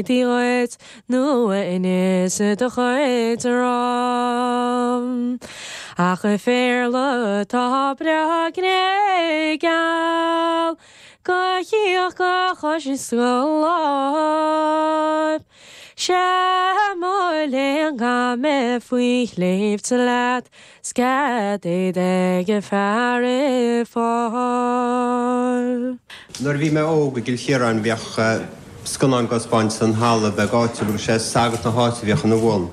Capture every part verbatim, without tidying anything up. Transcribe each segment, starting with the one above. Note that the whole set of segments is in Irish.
Dhuit nó inis do chuid orm. Ach a phéarla tá breá gnéigeal, Go chíoch go chois is go láimh. Sé mo léan gan mé faoi shléibhte leat, 's cad é ag fear i fáil. Nuair a bhí mé óg i gCill Chiaráin bhíodh scannán á dtaispeáint san halla beag áitiúil agus sé sagart na háite a bhíodh ina bhun.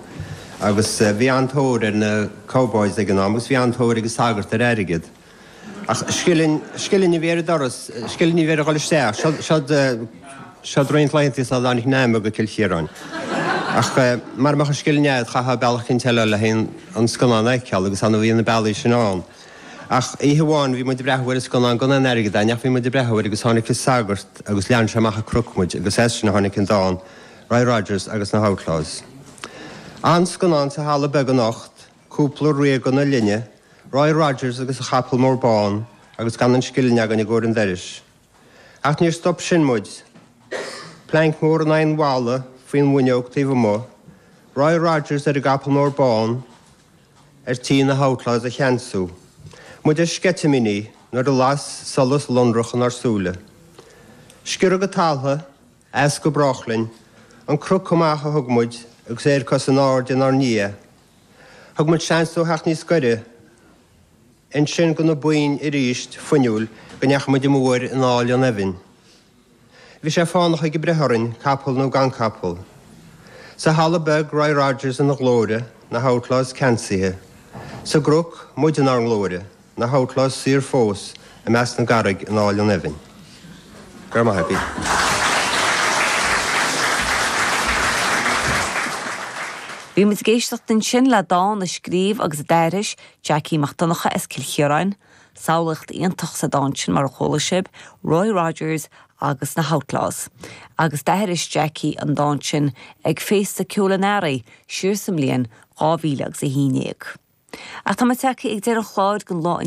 Agus bhí an-tóir ar na cowboys ag an am agus bhí an-tóir ag an sagart ar airgead. Ach scilling scilling a bhí ar an doras, scilling a bhí ar a dhul isteach, seod seod roinnt laethanta sula dtáinig an aidhm go Cill Chiaráin. Ach mara mbeadh an scilling agat chaithfeá bealach eicínt eile le an scannán a fheiceáil agus annamh a bhí na bealaí sin ann. Ach oíche amháin bhí muid ag breathnú ar an scannán gan aon airgead againn ach bhí muid ag breathnú air agus tháinig an sagart agus lean sé amach an cnoc muid agus as sin a tháinig an dán Roy Rogers agus na hOutlaws. An scannán sa halla beag anocht, cúpla ríoga na linne, Roy Rogers agus a chapall mór bán agus gan an scilling againn i gcomhair an dorais. Ach níor stop sin muid. Planc mór in aghaidh an bhalla faoin bhfuinneog taobh amuigh, Roy Rogers ar an gcapall mór bán ar tí na hOutlaws a cheansú. Muid ar sceitimíní nuair a las solas lonrach inár súile. Sciorradh go talamh, as go brách linn, an cnoc amach a thug muid agus aerchos in airde inár ndiaidh. Thug muid seans dó theacht níos gaire, ansin go na boinn arís fuinniúil go ndeachaigh muid amú air in aill an eibhinn. Bhí sé fánach ag breith orainn, capall nó gan capall. Sa halla beag Roy Rogers ina ghlóire, na hOutlaws ceansaithe. Sa gcnoc muid inár nglóire, na hOutlaws saor fós i measc na gcarraig in aill an eibhinn. Go raibh maith agaibh. Bhí muid ag éisteacht ansin le dán a scríobh agus a d'aithris Jackie Mac Donncha as Cill Chiaráin, samhlaíocht iontach sa dán sin mar a chuala sibh, Roy Rogers agus na Outlaws. Agus d'aithris Jackie an dán sin ag Féasta Ceoil an Earraigh siar sa mbliain dhá mhíle agus a haon déag. Ach tá muid tagtha ag deireadh an chláir don lá